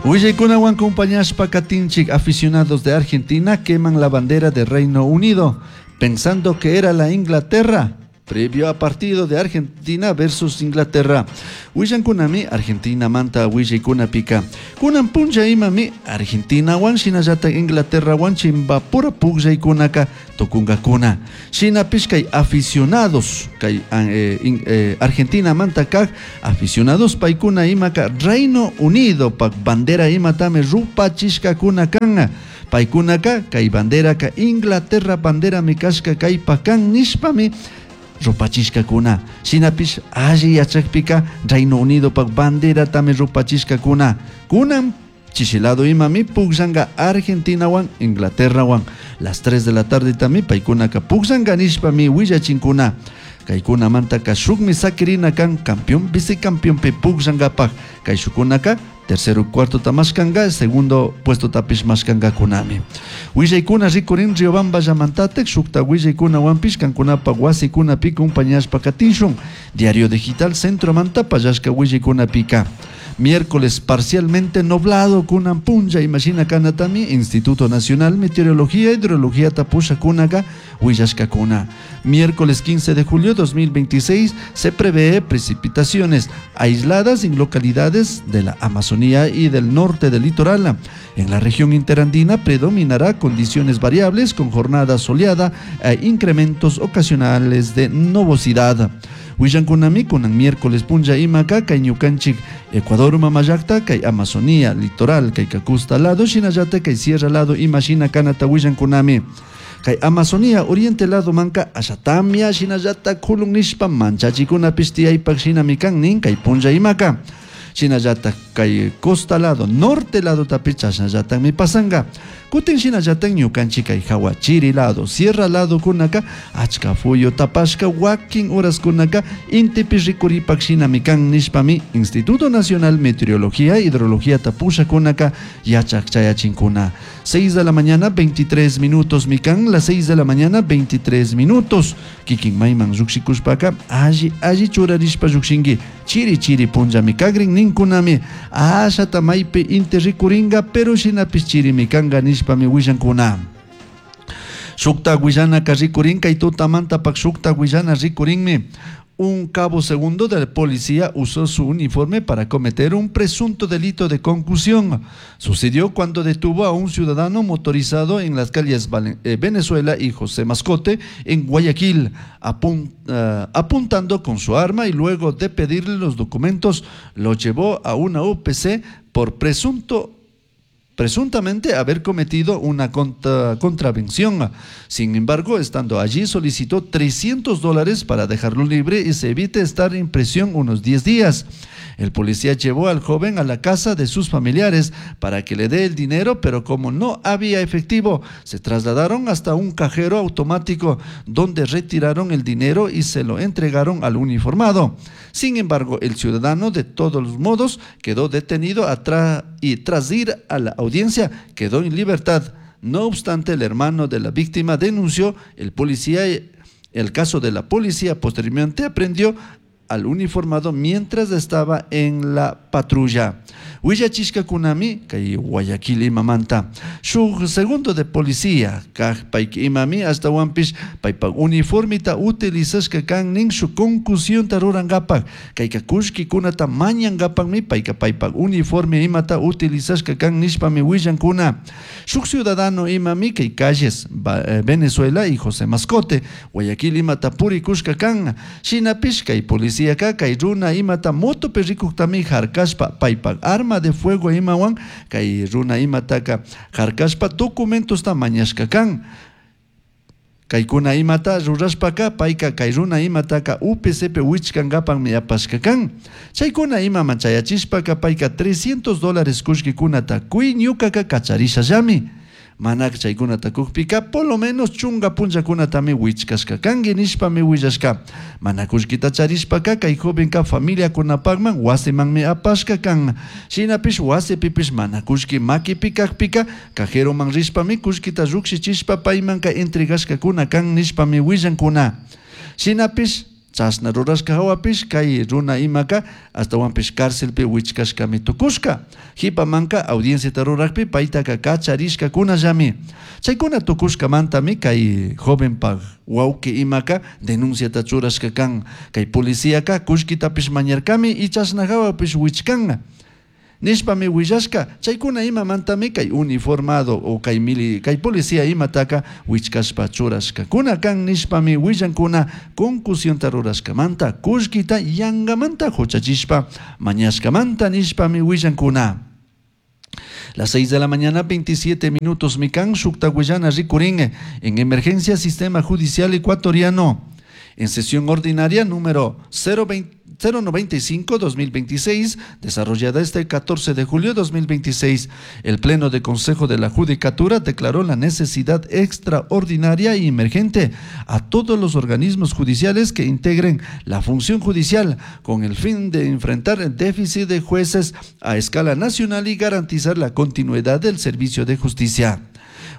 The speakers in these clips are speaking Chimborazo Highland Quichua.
Willaykunawan compañashpa katinchik. Aficionados de Argentina queman la bandera de Reino Unido, pensando que era la Inglaterra. Previo a partido de Argentina versus Inglaterra. Willankunami Argentina manta willaykunapika. Kunan punlla imami Argentina wan shinallata Inglaterra wan chimbapura pukllaykunaka tukunkakuna. Shinapish kay aficionados, kay Argentina manta kak aficionados paykuna imaka Reino Unido pak bandera imatami rupachishkakuna kan. Paykunaka kay banderaka Inglaterra banderami kashka kaypa kan nishpami rupachishkakuna. Shinapish alli yachakpika Reino Unido pak banderatami rupachishkakuna. Kunan chishi lado imami pukllanka Argentinawan Inglaterrawan. Las 3 de la tarde tami paykunaka pukllanka nishpami willachinkuna. Kaykunamantaka shukmi sakirina kan campeón vicecampeonpi pukllankapak. Kayshukunaka tercero cuarto mashkanga, segundo puesto tapish mashkangakunami. Willaykuna rikurin Riobamba llamantatek, shukta willaykunawanpish kankunapa wasikunapi compañashpa katishun. Diario Digital Centromanta pallashka willaykunapika. Miércoles parcialmente nublado kunan punlla imashina kanatami Instituto Nacional Meteorología e Hidrología tapushakunaka willashkakuna. Miércoles 15 de julio 2026 se prevé precipitaciones aisladas en localidades de la Amazonía y del norte del litoral. En la región interandina predominará condiciones variables con jornada soleada e incrementos ocasionales de nubosidad. Willankunami kunan miércoles punlla imaka kay ñukanchik Ecuador mamallakta kay Amazonía litoral kay costa lado shinallata kay sierra lado imashina kanata willankunami. Kay Amazonía oriente lado manka ashatamia shinallata kulun nishpa manchachikunapish tiyaypak shinami kan nin kay punlla imaka. Shinallata kay costa lado norte lado tapish chashnallatami pasanga. Kutin shinallata ñukanchik kay hawa chiri lado sierra lado kunaka achka fuyu tapashka wakin horas kunaka intipi rikuripak shinami kan nishpami Instituto Nacional Meteorología e Hidrología tapushakunaka yachak chayachinkuna. 6 de la mañana 23 minutos mikan, las 6 de la mañana 23 minutos. Kikin mayman lluqshikushpaka alli alli churarishpa lluqshinki chiri chiri punllami kagrin ninkunami ashata maypi inti rikuringa pero shinapish chirimi kanka nishpami willankuna. Shukta willanaka rikurin kay tutamantapak shukta willana rikurinmi. Un cabo segundo de la policía usó su uniforme para cometer un presunto delito de concusión. Sucedió cuando detuvo a un ciudadano motorizado en las calles Venezuela y José Mascote en Guayaquil, apuntando con su arma y luego de pedirle los documentos lo llevó a una UPC por presuntamente haber cometido una contravención. Sin embargo, estando allí, solicitó $300 para dejarlo libre y se evite estar en prisión unos 10 días. El policía llevó al joven a la casa de sus familiares para que le dé el dinero, pero como no había efectivo, se trasladaron hasta un cajero automático donde retiraron el dinero y se lo entregaron al uniformado. Sin embargo, el ciudadano de todos los modos quedó detenido y tras ir a la audiencia quedó en libertad. No obstante, el hermano de la víctima denunció el policía. El caso de la policía posteriormente aprehendió al uniformado mientras estaba en la patrulla. Willachishkakunami kay Guayaquil imamanta. Shuk segundo de policía kaj payki imami ashtawanpish paypak uniformita utilizashka kan nin shuk concusionta rurankapak. Kayka kullkikunata mañankapakmi payka paypak uniforme imata utilizashka kan nishpami willankuna. Shuk ciudadano imami kay calles Venezuela y José Mascote Guayaquil imata purikushka kan. Shinapish kay policía kay runa imata motopi rikuktami harkashpa paypak arma de fuego imawan kay runa imataka harkashpa documentosta mañashka kan. Kaykuna imata rurashpaka payka kay runa imataka UPCP wichkankapanmi apashka kan. Chaykuna imaman chayachishpaka payka $300 kullkikunata kuy ñukaka kacharishallami. Mana chaykunata kukpika por lo menos chunga punllakunatami wichkashka kanki nishpami willashka. Mana kullkita charishpaka kay jovenka familiakunapakman wasimanmi apashka kan. Shinapish wasipipish mana kullki makipi kakpika cajeroman rishpami kullkita llukshichishpa paymanka entregashkakuna kan nishpami willankuna. Shinapish Chashna rurashka hawapish kay runa imaka ashtahuanpish carcelpi huichcashcami tucushca. Jipamanca audienciata rurakpi paitaca kacharishcacunallami. Chaicuna tucushcamantami kay jovenpaj huauqui imaka denunciata churashca can. Kay policiaca kullkitapish mañarcami y chashna hawapish huichcan. Nishpami huillashca, chaicuna imamantami kay uniformado o kay mili kay policía imataca huichcashpa churashcacuna can nishpami huillancuna concusionta rurashcamanta kullkita yangamanta huchachishpa mañashcamanta nishpami huillancuna. Las 6 de la mañana, 27 minutos, mikan shukta huillana rikurin en emergencia sistema judicial ecuatoriano. En sesión ordinaria número 095-2026, desarrollada este 14 de julio de 2026, el Pleno de Consejo de la Judicatura declaró la necesidad extraordinaria y emergente a todos los organismos judiciales que integren la función judicial con el fin de enfrentar el déficit de jueces a escala nacional y garantizar la continuidad del servicio de justicia.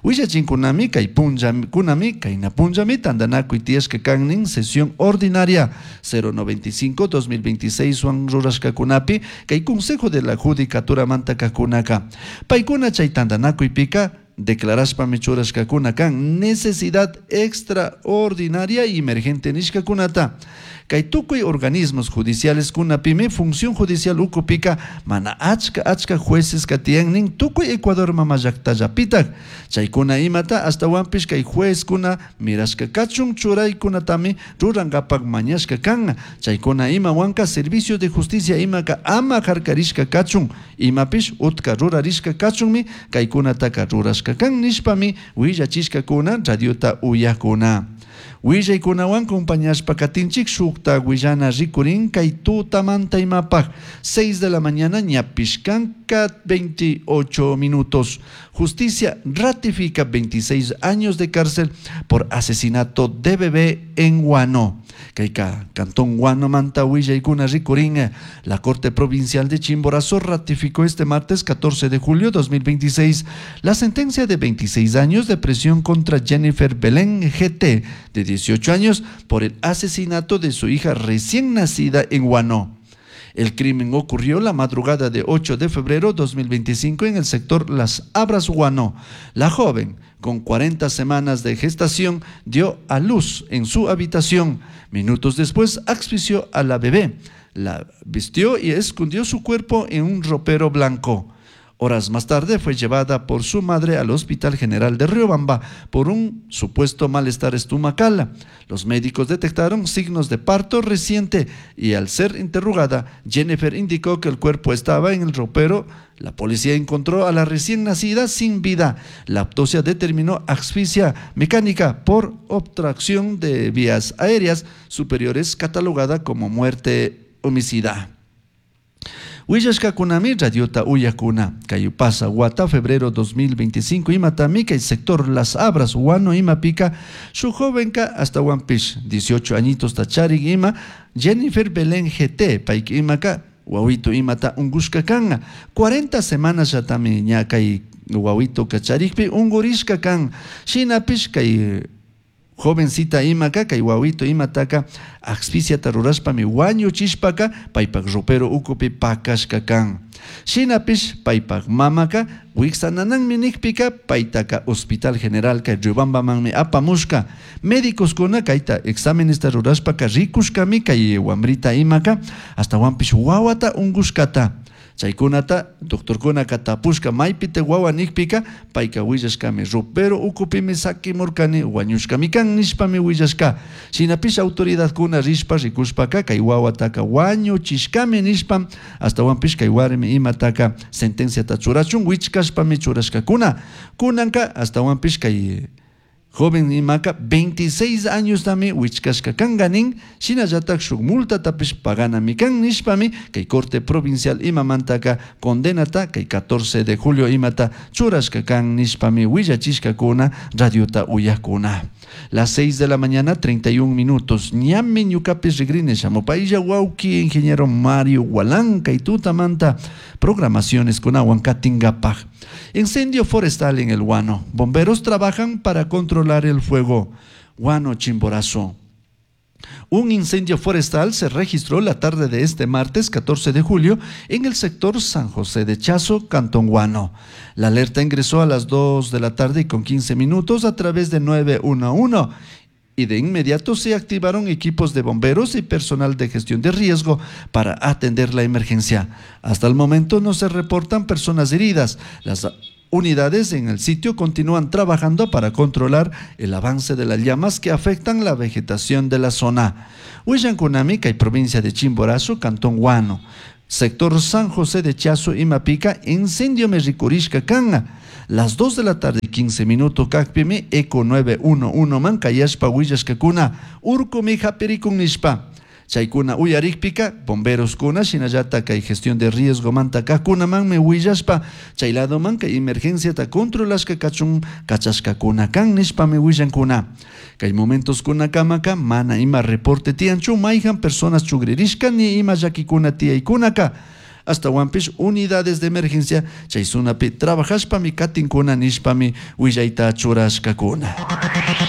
Willachinkunami kay punllakunami kayna punllami tantanakuy tiyashka kannin sesión ordinaria 095-2026 wan rurashkakunapi kay Consejo de la Judicatura mantakakunaka. Paykuna chay tantanakuypika declarashpami churashkakuna kan necesidad extraordinaria y emergente nishkakunata. Kay tukuy organismos judiciales kunapimi función judicial ukupika mana achka achka jueces katiyannin tukuy Ecuador mama llaktallapitak. Chaykuna imata ashtawanpish kay juezkuna mirashka kachun churaykunatami rurankapak mañashka kan. Chaykuna imawanka servicio de justicia imaka ama harkarishka kachun imapish utka rurarishka kachunmi kaykunataka rurashka kan nishpami willachishkakuna radiota uyakuna. Willaykunawan compañashpa katinchik shukta willana rikurin kay tutamanta imapaj 6 de la mañana ñapish kanka 28 minutos. Justicia ratifica 26 años de cárcel por asesinato de bebé en Guano. Kayka Cantón Guano manta willaykuna rikurin. La Corte Provincial de Chimborazo ratificó este martes 14 de julio 2026 la sentencia de 26 años de prisión contra Jennifer Belén GT, de 18 años, por el asesinato de su hija recién nacida en Guano. El crimen ocurrió la madrugada de 8 de febrero 2025 en el sector Las Abras, Guano. La joven, con 40 semanas de gestación, dio a luz en su habitación. Minutos después, asfixió a la bebé, la vistió y escondió su cuerpo en un ropero blanco. Horas más tarde fue llevada por su madre al Hospital General de Riobamba por un supuesto malestar estomacal. Los médicos detectaron signos de parto reciente y al ser interrogada, Jennifer indicó que el cuerpo estaba en el ropero. La policía encontró a la recién nacida sin vida. La autopsia determinó asfixia mecánica por obstrucción de vías aéreas superiores, catalogada como muerte homicida. Willashkakunami radiota uyakuna. Kay pasa wata febrero 2025 imatami kay sector Las Abras Guano imapika su jovenka hasta Pish 18 añitos tacharik ima Jennifer Belén GT payka imaka wawito imata ungushka kan 40 semanas yatami ña kay wawito kacharikpi ungurishka kan shinapish kay jovencita imaka kay wawito imataka asfixiata rurashpami wañuchishpaka paypak ropero ukupi pakashka kan. Shinapish paypak mamaka wiksanananmi nikpika paytaka Hospital General kay Riobambamanmi apamushka. Médicoskuna kayta exámenesta rurashpaka rikushkami kay wamrita imaka ashtawanpish wawata ungushkata. Chaykunata doctorkunaka tapushka maypita wawa nikpika payka willashkami ropero ukupimi sakimurkani wañushkami kan nishpami willashka. Shinapish autoridadkuna rishpa rikushpaka kay wawataka wañuchishkami nishpa ashtawanpish kay warmi imataka sentenciata churachun wichkashpami churashkakuna. Kunanka ashtawanpish kay joven imaka 26 años tami wichkashka kanganin shinallatak shuk multatapish paganami kan nishpami kay corte provincial imamantaka condenata kay 14 de julio imata churashka kan nishpami willachishkakuna radiota uyakuna. Las 6 de la mañana 31 minutos ñami ñukapish rigrini shamupaylla wawki ingeniero Mario Gualán kay tutamanta programaciones kunawan katingapaj. Incendio forestal en el Guano. Bomberos trabajan para controlar el fuego. Guano, Chimborazo. Un incendio forestal se registró la tarde de este martes 14 de julio en el sector San José de Chazo, Cantón Guano. La alerta ingresó a las 2 de la tarde y con 15 minutos a través de 911 y de inmediato se activaron equipos de bomberos y personal de gestión de riesgo para atender la emergencia. Hasta el momento no se reportan personas heridas. Las unidades en el sitio continúan trabajando para controlar el avance de las llamas que afectan la vegetación de la zona. Huillankunami kay provincia de Chimborazo, Cantón Guano. Sector San José de Chazo y Mapica, incendio me rikurishka kan. Las 2 de la tarde y 15 minutos kakpimi Eco 911 man kayashpa willashkakuna urkumi hapirikun nishpa. Chaykuna uyarikpika bomberoskuna shinallata kay gestión de riesgo manta kajkunamanmi willashpa chay ladoman kay emergenciata controlashka kachun kachashkakuna kan nishpami willankuna. Kay momentoskunakamaka mana ima reporte tiyanchu mayjan personas chugririshka ni ima llakikuna tiyaykunaka. Ashtawanpish unidades de emergencia chay zonapi trabajashpami katinkuna nishpami willayta churashkakuna.